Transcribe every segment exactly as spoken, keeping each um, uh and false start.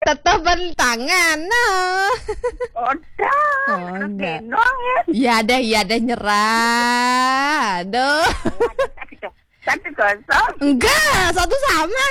Tetap bertangan. Nah. Odah. Oh, enggak. Bingung ya. Iya deh, iya deh, nyerah. Aduh. Satu kosong. Enggak, satu sama.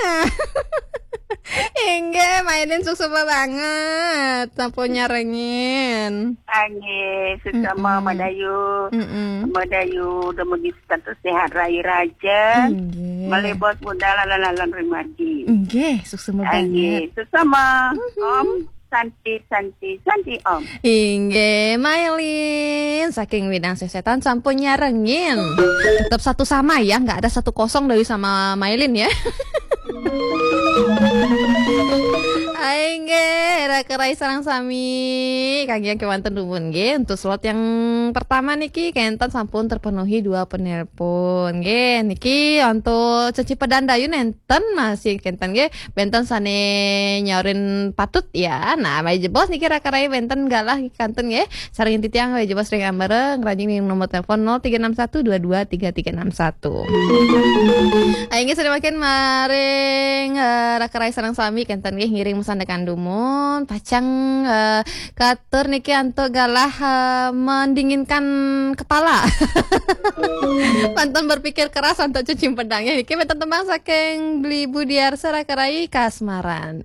Inggih, mainin suksma banget. Sampun nyarengin. Anggih, suksma Mm-mm. Madayu. Mm-mm. Madayu udah begitu status sehat raya raja. Inggih. Malih bos budal lalan-lalan rimadi. Inggih, suksma banget. Anggih, suksma. Om Santi, Santi, Santi Om. Inggih, Mailin saking Widang Sesetan sampun nyarengin. Tetap satu sama ya, nggak ada satu kosong dari sama Mailin ya. Inggih, raka rai sareng sami. Kangge kewanten dumun nggih untuk slot yang pertama niki kenten sampun terpenuhi dua penelpon. Nggih, niki untuk Ceci Pedandayu nenten masih kenten nggih. Benten sane nyorin patut ya. Nah, malih jebos niki raka rai benten galah kantun nggih. Sareng titiang malih jebos ring ambara ngranjing ring nomor telepon nol tiga enam satu dua dua tiga tiga enam satu. Ayo nggih, sami mangkin maring eh, raka rai sareng sami kenten nggih ngiring masandekan dumun pacang eh, katur niki antuk galah eh, mendinginkan kepala. Pantun berpikir keras antuk cuci pedang ya. Niki benten tembang saking Beli Budiarsa raka rai Kasmaran.